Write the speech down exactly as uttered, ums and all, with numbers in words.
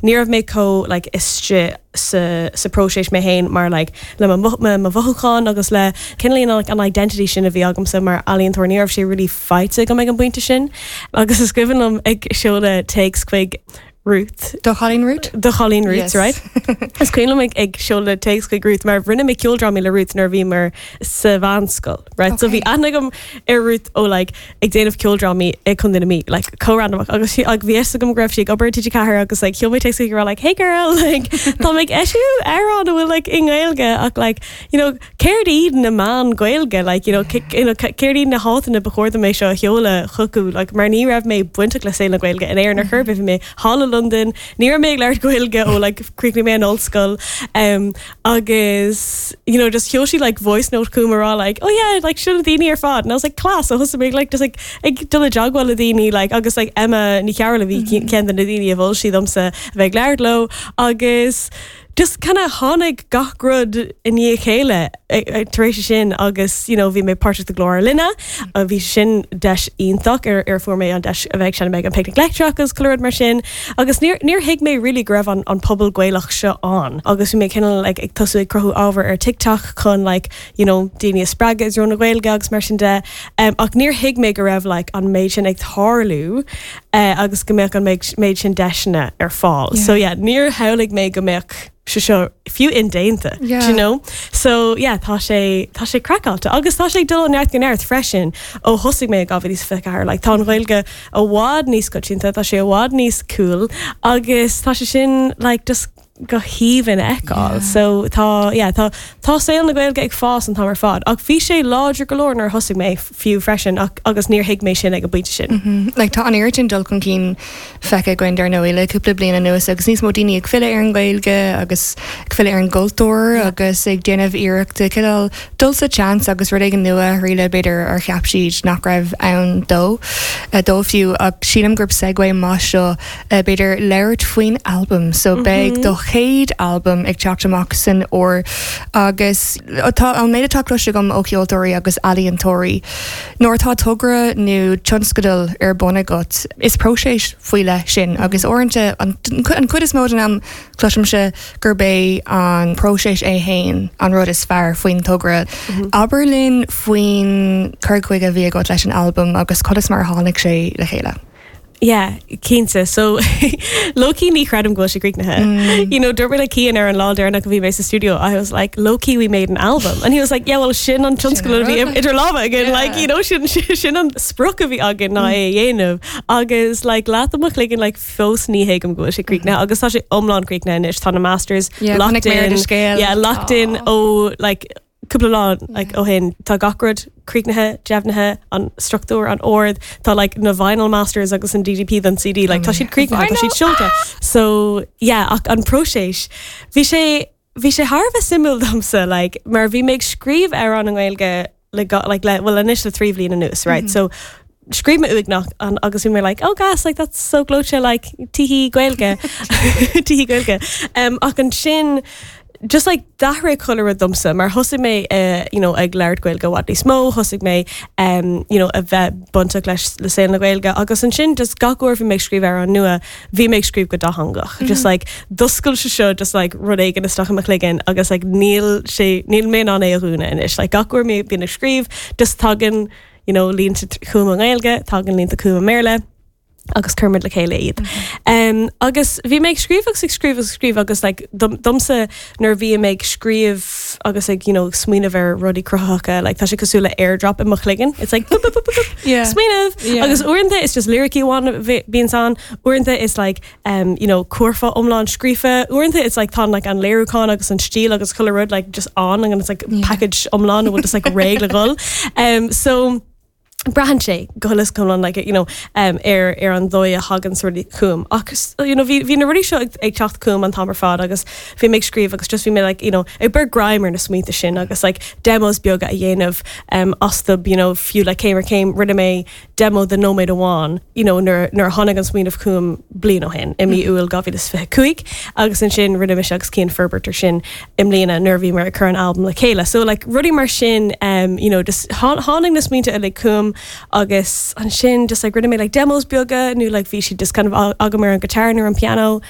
Ní raibh mé chomh like istigh sa sa próiseas mé féin mar like le mo mhothúcháin agus le cineál like, an identity sin a bhí agamsa mar ealaíontóir ní raibh sé really faighte agam ag an bpointe sin agus is cuimhin liom ag seoladh téacs chuig Ruth. Do chailín Ruth? Do chailín Ruth, Yes. right? Is cuimhin liom ag ag seoladh téacs chuig Ruth mar rinne mé ceoldrámaí le Ruth nuair a bhí mar sa mheánscoil, right? So bhí aithne agam ar Ruth ó like ag déanamh ceoldrámaí ag Contae na Mí, like comhrandamach agus sí ag bhí agam go raibh sí ag obair TG Ceathair agus like sheol mé téacs chuig like hey girl like tá mé ag eisiú amhrán a bhfuil like i nGaeilge ach like you know céard iad na meáin Gaeilge like you know you know céard iad na háiteanna ba chóir dom é seo a sheoladh chucu like mar ní raibh mé bainteach le saol na Gaeilge in Éirinn ar chor ar bith bhí mé thall i London ní raibh mé ag labhairt Gaeilge ó like chríochnaigh mé an ollscoil um, agus you know just sheol sí like voice note chugam rá like oh yeah like sin na daoine ar fad and I was like class so thosaigh mé like just like ag dul i dteagmháil le daoine like agus like Emma Ní Chearúil a bhí ceann de na daoine a mhol sí domsa a bheith ag labhairt leo agus just kind of tháinig gach rud i ndiaidh a chéile tar éis sin agus you know, bhí mé páirteach i gclár Ar Line a bhí sin deis iontach ar ar fuair mé an deis a bheith sin ag an Picnic Leictreach agus chuile rud mar sin agus níor níor thuig mé really go raibh an, an pobal Gaelach seo ann agus bhí mé cineál like, ag tosú ag cruthú ábhar ar TikTok chun like, you know, daoine a spreagadh i dtreo na Gaeilge agus mar sin de um, ach níor thuig mé go raibh like, an méid sin ag tarlú uh, agus go mbeadh an méid sin deiseanna ar fáil. Yeah. So yeah, níor shamhlaigh mé go mbeadh sé seo fiú indéanta Yeah. you know? So yeah, tá sé tá sé craiceáilte agus tá sé dul ó neart go neart freisin ó thosaigh mé dhá mhíle is fiche ceathair, like, tá an Ghaeilge i bhfad níos coitianta, tá sé i bhfad níos cool agus tá sé sin like, just go haoibhinn a fheiceáil. Yeah. So tá yeah, tá tá saol na Gaeilge ag fás an t-am ar fad ach bhí sé láidir go leor nuair a thosaigh mé fiú freisin ach, agus níor thuig mé sin ag an bpointe sin. Mm, Like tá an oiread sin dul chun cinn feicthe againn dar ndóigh le cúpla bliain anuas agus níos mó daoine ag filleadh ar an Ghaeilge agus ag filleadh ar an gcultúr agus ag déanamh iarrachta cineál dul sa seans agus rud éigin nua ríle b'fhéidir ar cheap siad nach raibh ann dó eh, dó fiú ach sílim gurb segue maith seo eh, b'fhéidir labhairt faoin album so beidh do chéad album ag teacht amach san fhómhar agus tá an méid atá cloiste agam ó cheoltóirí agus ealaíontóirí. Nuair atá togra nó tionscadal ar bun agat is próiseas faoi leith sin agus uaireanta an an chuid is mó den am cloisimse gurb é an próiseas é féin an rud is fearr faoin togra. Abair linn faoin cur chuige a bhí agat leis an album agus conas mar a tháinig sé le chéile. Yeah, cinnte. So lowkey ní chreidim go bhfuil sé críochnaithe. You know, dúirt mé le Cian ar an lá deireanach a bhí mé sa studio, I was like, lowkey we made an album. And he was like, yeah, well sin an tionscadal a bhí idir lámha againn, Yeah. like, you know, sin, sin an sprioc a bhí againn ná é a dhéanamh. Agus like, leath mo chloigeann like, fós ní thuigim go bhfuil sé críochnaithe, agus tá sé iomlán críochnaithe anois, tá na masters Yeah, locked chonaic mé ar in. do scéal. Yeah, locked in Aw. ó like, cúpla lá like, ó shin tá gach rud críochnaithe deimhnithe an struchtúr an ord tá like, na vinyl masters agus an DDP don CD like, tá siad críochnaithe tá siad seolta so yeah ach an próiseas bhí sé bhí sé thar a bheith suimiúil domsa like, mar bhí mé ag scríobh ar an nGaeilge le go- like, le, well anois le trí bhliain anuas right mm -hmm. so scríobh mé uaigneach an agus bhí mé like oh gas like that's so gleoite like tihí Gaeilge tihí Gaeilge um, ach ansin just like d'athraigh chuile rud domsa mar thosaigh mé uh, you know, ag labhairt Gaeilge i bhfad níos mó thosaigh mé um, you know, a bheith bainteach leis le saol na Gaeilge agus ansin just gach uair bhí mé ag scríobh ar an nua bhí mé ag scríobh go dátheangach mm -hmm. just like d'oscail sé seo just like rud éigin isteach i mo chloigeann agus like níl sé níl mé in ann é a dhúnadh anois like gach uair mé bíonn ag scríobh just tagann you know, línte chugam i nGaeilge tagann línte chugam i mBéarla agus cuirimid le chéile iad. Um, agus bhí mé ag scríobh agus ag scríobh agus scríobh agus like, dom, domsa nuair bhí mé ag scríobh agus ag you know, smaoineamh ar rudaí cruthaitheacha like, tá sé cosúil le airdrop i mo chloigeann. It's like boop, boop, boop, boop, boop, Yeah. smaoineamh Yeah. agus uaireanta is just lyricí amháin bhíonn ann uaireanta is like um, you know, curfá iomlán scríofa uaireanta it's like tá like an léiriúchán agus an stíl agus chuile rud like just on and it's like Yeah. package iomlán a bhfuil just like réidh le dhul. Um, so braitheann sé go huile iomlán like, you know, um, ar ar an dóigh a thagann rudaí chugam agus you know, bhí bhí na rudaí seo ag, ag teacht chugam an t-am ar fad agus bhí mé ag scríobh agus just bhí mé like, you know, ag cur greim ar na smaointe sin agus like, demos beaga a dhéanamh um, astu you know, fiú le céim ar chéim rinne mé demo de nóiméad amháin you know, nuair nuair a tháinig an smaoineamh chugam bliain ó shin i mí Iúil dhá mhíle is fiche cúig agus ansin rinne mise agus Cian forbairt air sin i mbliana nuair a bhí mar ag cur an album le chéile. So like rudaí mar sin um, you know, just tháinig na smaointe uilig chugam agus ansin just like rinne mé like demos beaga nó like bhí siad just kind of agam ar an guitar nó an piano